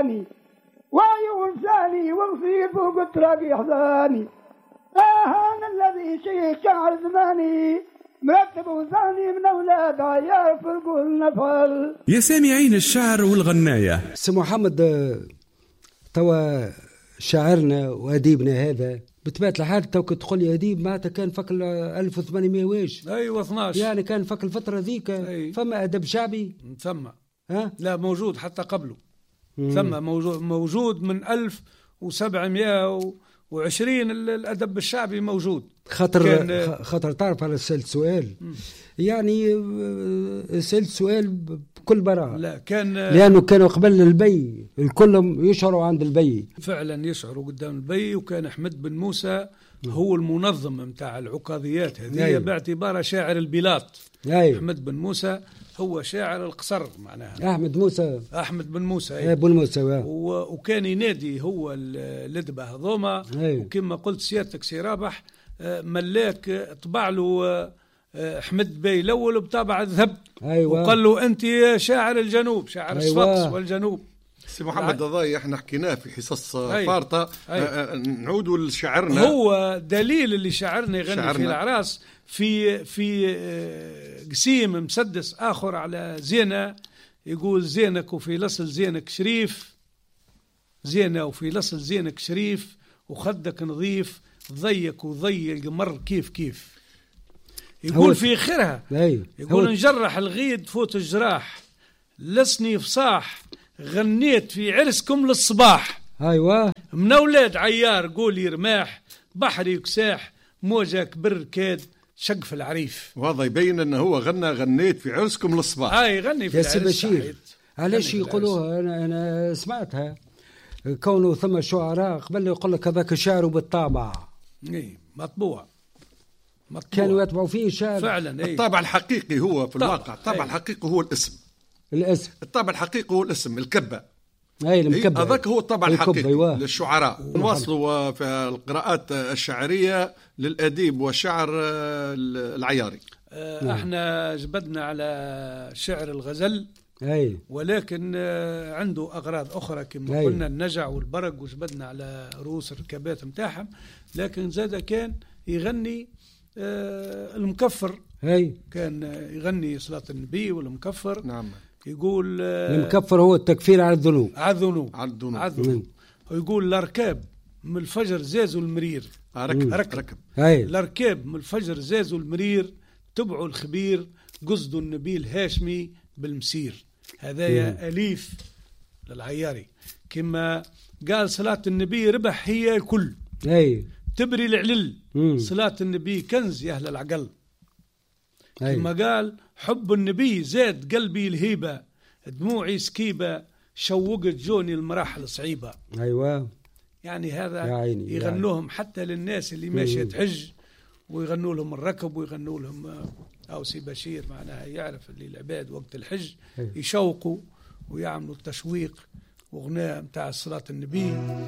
ثاني وعيون ثاني وغفير فوق التراب يحزاني. أنا الذي شيخ شعر زماني مرتب وثاني من أولاد عيار فرقوا النفل. يا سامعين الشعر والغناية. سي محمد، توا شاعرنا وأديبنا هذا بطبيعة الحال تو كي تقول لي أديب معناتها كان فك 1800 واش؟ أيوة 12. يعني كان فك الفترة ذيك. أي. فما أدب شعبي؟ ثم. ها؟ لا موجود حتى قبله. ثم موجود من 1720 الأدب الشعبي موجود. خاطر كان خاطر تعرف على سألت سؤال. يعني سألت سؤال بكل براءة. لا كان لأنه كانوا قبل البي الكل يشعروا عند البي. فعلا يشعروا قدام البي، وكان أحمد بن موسى هو المنظم متاع العكاظيات هذه. باعتباره شاعر البلاط. أحمد بن موسى هو شاعر القصر معناها. أحمد موسى. أحمد بن موسى، إيه، بن موسى، وكان ينادي هو الأدبة هذوما. وكما قلت سيادتك سي رابح، ملاك، طبع له، أحمد بي الأول بطابع الذهب. وقال له أنت شاعر الجنوب، شاعر الصفاقس والجنوب. سي محمد الضاي احنا حكيناه في حصص فارطة. نعودوا لشاعرنا. هو دليل اللي شاعرنا يغني في شاعرنا. الأعراس في قسيم مسدس آخر على زينة، يقول زينك وفي لصل زينك شريف، زينة وفي لصل زينك شريف، وخدك نظيف، ضيك وضي القمر كيف كيف. يقول هو في آخرها، يقول هو نجرح الغيد فوت الجراح، لسني فصاح، غنيت في عرسكم للصباح. من أولاد عيار قولي رماح، بحري كساح، موجة كبر كاد شقف العريف. وهذا يبين أنه هو غنى غنيت في عرسكم للصباح. يغني في يا سي العرس، بشير، صحيح. علاش غني في العرس. يقولوها؟ أنا سمعتها كونه ثم شعراء قبل يقول لك هذاك شعره بالطابع. إيه، مطبوع. مطبوع. كانوا يطبعوا فيه شعر. فعلا، إيه. الطابع الحقيقي هو في الطابع، الواقع، الطابع إيه. الحقيقي هو الاسم. الاسم. الطابع الحقيقي هو الاسم، الكبة. أي، المكبة. إيه، هذاك هو الطابع الكبة، الحقيقي أيوة. للشعراء. نواصلوا في القراءات الشعرية للأديب والشعر العياري. احنا جبدنا على شعر الغزل. ولكن عنده أغراض أخرى كما قلنا، النجع والبرق، وجبدنا على رؤوس الركابات متاعهم. لكن زاد كان يغني المكفر. كان يغني صلاة النبي والمكفر. يقول، المكفر هو التكفير على الذنوب. على الذنوب. على الذنوب. على الذنوب. ويقول الأركاب من الفجر زازوا المرير. ركب، ركب. ركب. الأركاب من الفجر زازوا المرير، تبعوا الخبير، قصدوا النبي الهاشمي بالمسير. هذايا أليف للعياري. كما قال صلاة النبي ربح هي الكل. تبري العلل. صلاة النبي كنز يا أهل العقل. كما قال حب النبي زاد قلبي الهيبة، دموعي سكيبة، شوقت جوني المراحل صعيبة. هذا يا عيني، يا يغنوهم عيني. حتى للناس اللي ماشية تحج، ويغنوا لهم الركب، ويغنوا لهم، أو سي بشير معناها يعرف اللي العباد وقت الحج يشوقوا ويعملوا التشويق وغناء متاع صلاة النبي.